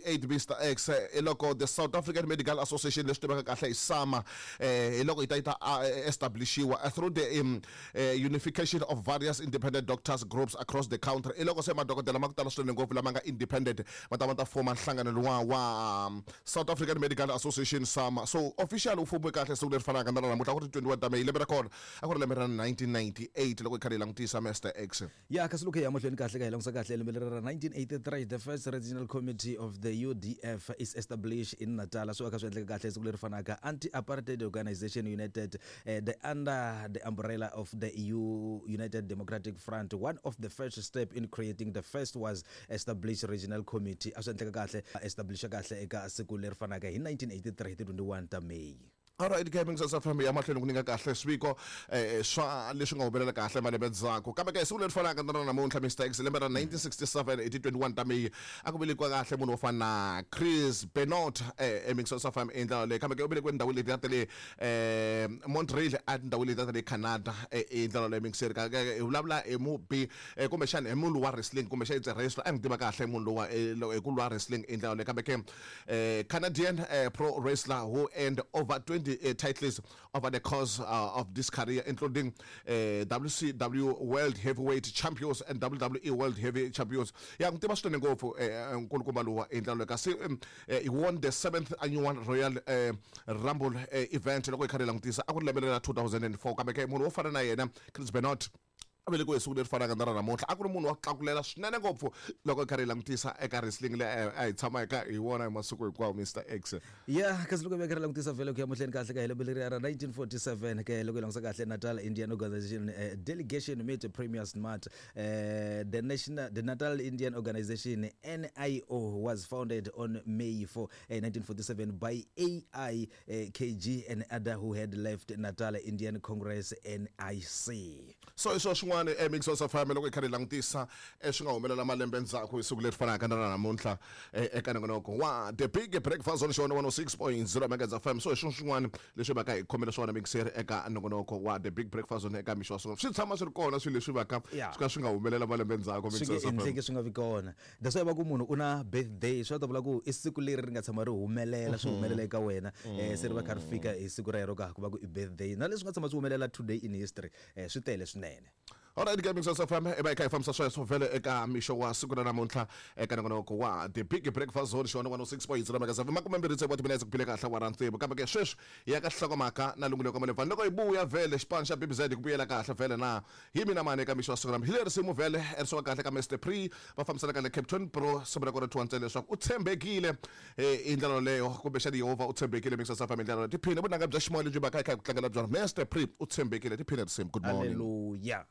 1998, Mr X, hi loko the South African Medical Association, leswi tivekaka kahle hi SAMA, hi loko yi ta yi ta establishiwa through the unification of various independent doctors groups across the country. Hi loko se madokodela ma ku tala swinene ngopfu lama nga independent va ta va ta foma nhlangano luwa wa South African Medical Association, SAMA. So official wu fumiwe kahle siku leri fanaka na ra namuntlha, ku ri 21 ta May, lembe ra kona a ku ri lembe ra 1998, loko hi karhi hi langutisa, Mr X. Ya, kasi loko hi ya mahlweni kahle ka hi langusa kahle lembe leri ra 1983, the first regional committee of the UDF is established in Natal. Swi va kha swi endleka kahle siku leri fanaka. Anti-apartheid Organization United, the under the umbrella of the U United Democratic Front, one of the first step in creating the first was established regional committee. A swi endleka kahle establisha kahle eka siku leri fanaka hi 1983 hi ti 21 ta May. Alright ke, Mixers FM ya mahlweni ku nyika kahle swiviko swa leswi nga humelela kahle malembe ndzhaku. Kambe ke siku leri fanaka na ra namuntlha, Mr X, lembe ra 1967 hi ti 21 ta May, a ku velekiwa kahle munhu wo fana na Chris Benoit, eMixers FM i ndlela leyi. Kambe ke u velekiwe endhawini leti ta le Montreal, a tindhawini leti ta le Canada, i ndlela leyi, Mixer. Ka hi vulavula hi mubi, kumbexana hi munhu wa wrestling, kumbexana it's a wrestler, a n'wi tiva kahle munhu lowa hi ku lwa wrestling i ndlela leyi. Kambe ke Canadian pro wrestler who earned over 20 titles over the course of this career, including WCW World Heavyweight Champions and WWE World Heavy Champions. Ya n'wi tiva swinene ngopfu nkulukumba luwa hi ndlela leyi. Kasi he won the seventh annual Royal Rumble event, loko hi kha hi langutisa a ku ri lembe ra 2004. Kambe ke munhu wo fana na yena Chris Benoit a velekiwe hi siku leri fanaka na ra namuntlha, a ku ri munhu wa ku tlakulela swinene ngopfu loko hi karhi hi langutisa eka wrestling leyi a hi tshama hi kha hi vona hi masiku hinkwawo, Mr X. Ya, kasi loko hi veka ri langutisa vhele ku ya mahlweni kahle ka hi lembe leriya ra 1947 ke, loko hi langusa kahle, Natal Indian Organization delegation meet Premier Smart. The national the Natal Indian Organization, NIO, was founded on May 4, 1947 by AI KG and other who had left Natal Indian Congress, NIC. So hi swona swin'wana eMixos FM, loko hi karhi hi langutisa swi nga humelela malembe ndzhaku hi siku leri fanaka na ra namuntlha, eka nongonoko wa The Big Breakfast on xona 106.0 Megahertz FM. So hi swona swin'wana leswi va ka hi khomele swona, mixer, eka nongonoko wa The Big Breakfast on eka mixo wa swona. Swi tshama swi ri kona swilo leswi va ka swi ka swi nga humelela malembe ndzhaku. Swi nge endleki swi nga vi kona. That's why va ku munhu u na birthday, swi ta vula ku i siku leri ri nga tshama ri humelela, swi humelela eka wena, se ri va kha ri fika hi siku rero ka ku va ku i birthday, na leswi nga tshama swi humelela today in history, swi tele swinene. Alright ke, Mixos FM i va hi kha hi fambisa sweswo vhele eka mixo wa siku ra namuntlha eka nongonoko wa The Big Breakfast Zone, xona 106.0 Megahertz FM, 26 wa timinetse ku bile kahle wa ra tsevu. Kambe ke sweswi hi ya ka hlokomhaka na lunguleko ka malebvani, loko hi vuya vhele xipano xa BBZ ku vuyela kahle vhele na hi mina mani eka mixo wa siku ra hi leri risimu vhele ri suka kahle ka Mr Pre, va fambisana kahle Captain Pro. Simu ra kona thiwa ntsena leswaku u tshembekile, hi ndlela yoleyo, kumbexana Yehovha u tshembekile. Mixos FM hi ndlela yoleyo, tiphine vunanga bya ximoya lebyi va ka hi kha hi ku tlangela byona. Mr Pre, u tshembekile, tiphine risimu. Good morning. Hallelujah.